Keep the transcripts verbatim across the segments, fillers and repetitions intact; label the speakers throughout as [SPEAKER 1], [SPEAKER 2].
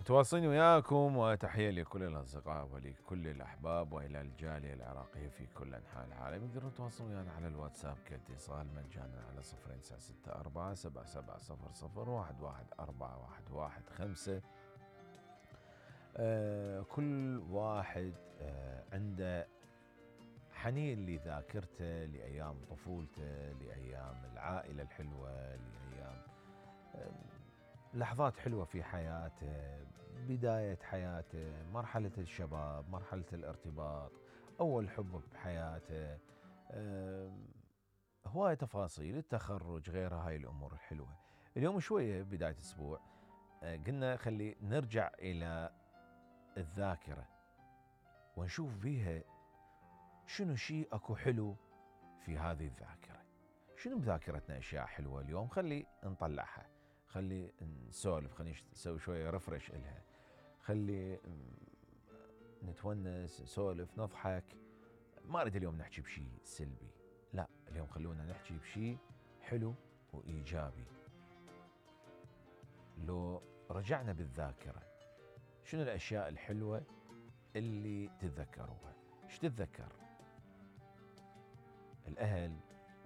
[SPEAKER 1] متواصلين وياكم، وتحية لكل الأصدقاء ولكل الأحباب وإلى الجالية العراقية في كل أنحاء العالم. يقدرون يتواصلون ويانا على الواتساب كاتصال مجانا على صفر تسعة ستة أربعة سبعة سبعة صفر صفر واحد واحد أربعة واحد واحد خمسة. آه كل واحد آه عنده حنين لذاكرته، لأيام طفولته، لأيام العائلة الحلوة، لأيام آه لحظات حلوة في حياته، بداية حياته، مرحلة الشباب، مرحلة الارتباط، أول حب بحياته، هواية تفاصيل التخرج، غيرها هاي الأمور الحلوة. اليوم شوية بداية أسبوع قلنا خلي نرجع إلى الذاكرة ونشوف فيها شنو شيء أكو حلو في هذه الذاكرة، شنو بذاكرتنا أشياء حلوة اليوم خلي نطلعها، خلي نسولف، خلي نسوي شوية رفرش إلها، خلي نتونس نسولف نضحك. ما أريد اليوم نحكي بشيء سلبي، لا اليوم خلونا نحكي بشيء حلو وإيجابي. لو رجعنا بالذاكرة شنو الأشياء الحلوة اللي تتذكروها؟ ايش تتذكر؟ الأهل،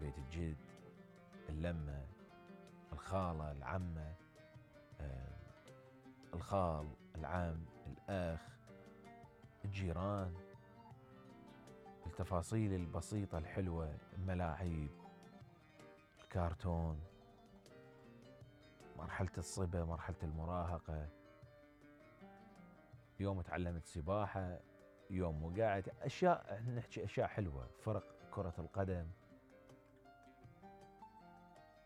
[SPEAKER 1] بيت الجد، اللمة، الخالة، العمة، آه، الخال، العم، الأخ، الجيران، التفاصيل البسيطة الحلوة، الملاعب، الكارتون، مرحلة الصبا، مرحلة المراهقة، يوم تعلمت سباحة، يوم وقعت، أشياء نحكي أشياء حلوة، فرق كرة القدم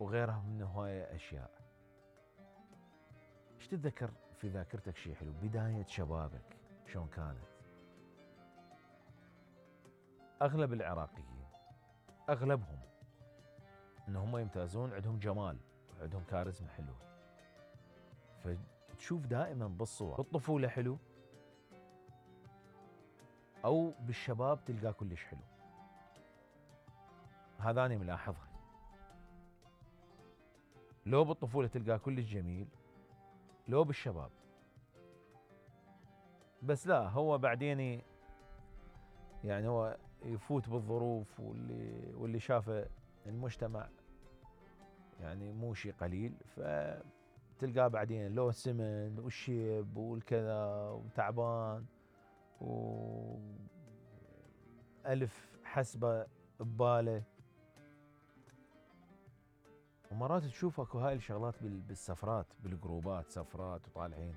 [SPEAKER 1] وغيرها من هواية أشياء. ايش تتذكر في ذاكرتك شيء حلو؟ بداية شبابك شلون كانت؟ أغلب العراقيين أغلبهم إنهم يمتازون، عندهم جمال، عندهم كاريزما حلوة، فتشوف دائما بالصور بالطفولة حلو أو بالشباب تلقى كلش حلو. هذا أنا ملاحظها، لو بالطفولة تلقى كلش جميل، لو بالشباب. بس لا هو بعدين يعني هو يفوت بالظروف واللي واللي شافه المجتمع يعني مو شيء قليل، فتلقاه بعدين لو سمن والشيب والكذا وتعبان وألف حسبة بباله. ومرات تشوف اكو هاي الشغلات بالسفرات بالجروبات، سفرات وطالعين